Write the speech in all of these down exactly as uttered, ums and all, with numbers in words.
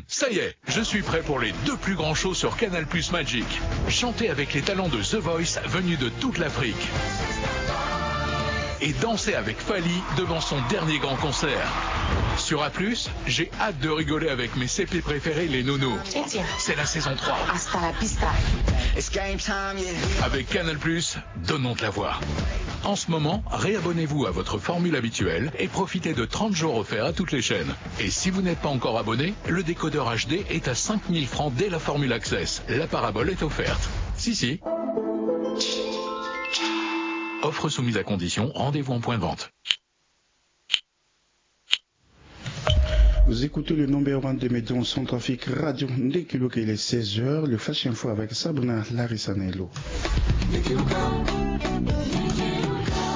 Ça y est, je suis prêt pour les deux plus grands shows sur Canal Plus Magic. Chantez avec les talents de The Voice venus de toute l'Afrique. Et dansez avec Fally devant son dernier grand concert. Sur A plus, j'ai hâte de rigoler avec mes C P préférés, les Nounous. C'est la saison trois. Hasta la pista. Avec Canal Plus, donnons de la voix. En ce moment, réabonnez-vous à votre formule habituelle et profitez de trente jours offerts à toutes les chaînes. Et si vous n'êtes pas encore abonné, le décodeur H D est à cinq mille francs dès la formule Access. La parabole est offerte. Si, si. Offre soumise à condition, rendez-vous en point de vente. Vous écoutez le numéro un de Média en Centrafrique Radio. Ndeki Luka, il est seize heures. Le Flash Info avec Sabrina Larissa Nelo.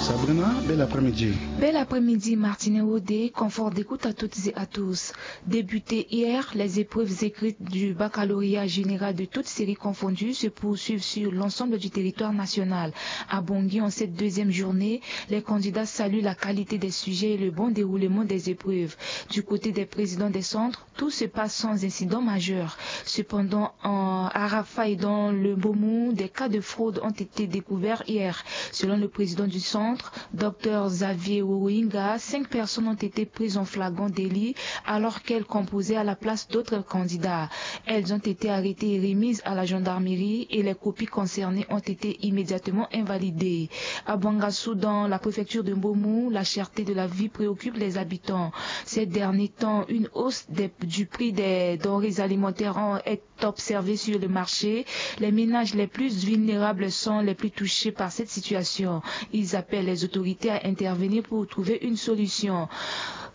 Sabrina, bel après-midi. Bel après-midi, Martine Wode. Confort d'écoute à toutes et à tous. Débutées hier, les épreuves écrites du baccalauréat général de toutes séries confondues se poursuivent sur l'ensemble du territoire national. À Bangui, en cette deuxième journée, les candidats saluent la qualité des sujets et le bon déroulement des épreuves. Du côté des présidents des centres, tout se passe sans incident majeur. Cependant, en Arafa et dans le Mbomou, des cas de fraude ont été découverts hier. Selon le président du centre, Dr Xavier Wowinga, cinq personnes ont été prises en flagrant délit alors qu'elles composaient à la place d'autres candidats. Elles ont été arrêtées et remises à la gendarmerie et les copies concernées ont été immédiatement invalidées. À Bangassou, dans la préfecture de Mbomou, la cherté de la vie préoccupe les habitants. Ces derniers temps, une hausse des- du prix des denrées alimentaires en- est observée sur le marché. Les ménages les plus vulnérables sont les plus touchés par cette situation. Ils appellent les autorités à intervenir pour trouver une solution.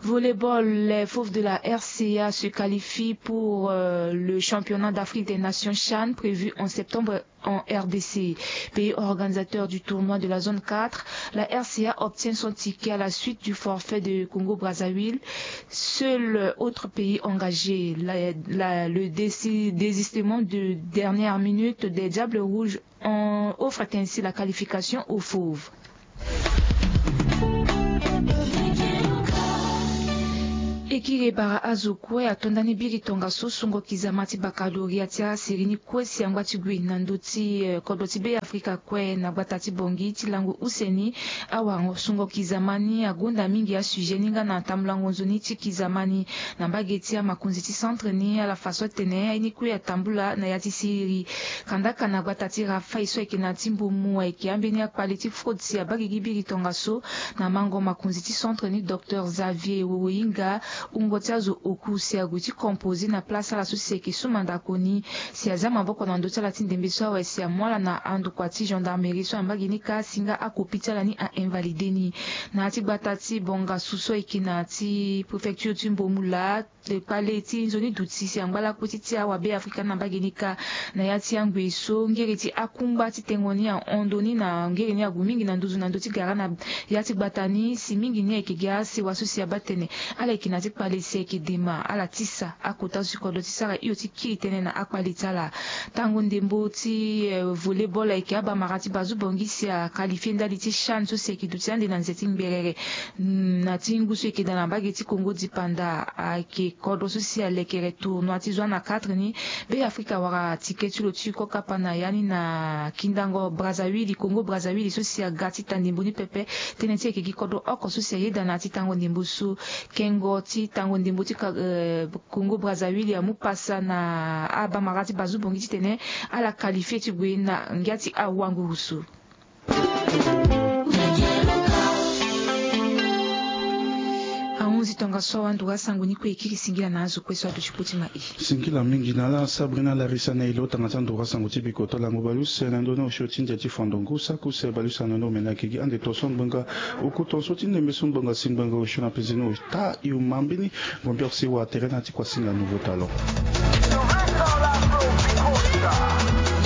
Volleyball, les Fauves de la R C A se qualifient pour euh, le championnat d'Afrique des Nations CHAN prévu en septembre en R D C. Pays organisateur du tournoi de la zone quatre, la R C A obtient son ticket à la suite du forfait de Congo-Brazzaville. Seul autre pays engagé, la- la- le dési- désistement de dernière minute des Diables Rouges en- offre ainsi la qualification aux Fauves. Ekiri bara azo kue atonda ni biri tongaso sungo kizama ti baccalauréat ti aseri ni kue si angba ti gue na ndö ti eh, kodro ti Be Afrika kue na gbata ti Bangui ti lango use ni. Awarango sungo kizama ni agonda mingi asujet ni nga na tambulango nzoni ti kizama ni na mbage ti amakonzi ti centre ni ala fa so atene aye ni kue atambula na ya ti siriri. Kandaka na gbata ti Rafaï so ayeke na ya ti Mbomou ayeke ambeni akpale ti fraude si abaa gigi biri tongaso na mango makonzi ti centre ni, Docteur Xavier Wowoyinga, wungo ti azo oku si ague ti composer na place ala so si ayeke su mandako ni. Si azia maboko na ndö ti ala ti ndembe so awe si amu ala na andokua ti gendarmerie so ambagi ni kâ si nga akopi ti ala ni a-invalider ni. Na ya ti gbata ti Bongassou so ayeke na ya ti préfecture ti Mbomou laa, kpale ti nzoni duti si angba lakue ti ti awabe Afrika ni na mbage ni kâ. Na ya ti angbe so ngere ti akungba ti tengo ni ahon ndo ni na ngere ni ague mingi na nduzu na ndö ti gara na ya ti gbata ni si mingi ni ayeke gi asewa so si abaa tene ala yeke na ya ti kpale si ayeke dema ala tisa akota zo ti kodro ti sara hio ti kiri tënë na akpale ti ala. Tango ndembo ti eh, volleyball ayeke abamara ti Bazou Bangui si aqualifie ndali ti CHAN so si ayeke duti ande na nze ti ngberere. Mm, na ti ngu so eke daa na mbage ti Congo dipanda ayeke kodro so si alekere tournoi ti zo ana quatre ni. Be Afrika wara ticket ti lo ti ko kapa na ya ni na kindango Brazzaville, Congo Brazzaville so si aga ti ta ndembo ni pepe. Tënë ti ayeke gi kodro oko so si ayeda na ya ti tango ndembo so. Kengo ti tango ndembo ti ka- eh, Congo Brazzaville amu pasa na abamara ti Bazou Bangui titene ala qualifie ti gue na ngia ti awanguru so. Ahunzi tongaso awa nduru asango ni kue e kiri singila na azo kue so aduti kpo ti ma e. Singila mingi na ala Sabrina Larissa na e lo tanga ti anduru asango ti biko to lango baleuse na ndö ni osio ti ndia ti fando ngu saki use baleuse na ndö ni omene ayeke gi ande to so ngbonga oku tongaso ti ndembe so ngbonga si ngbonga osio na peze ni ota e oma mbeni. Ngombe ose wa tere na ya ti kuasinga nouveau talon.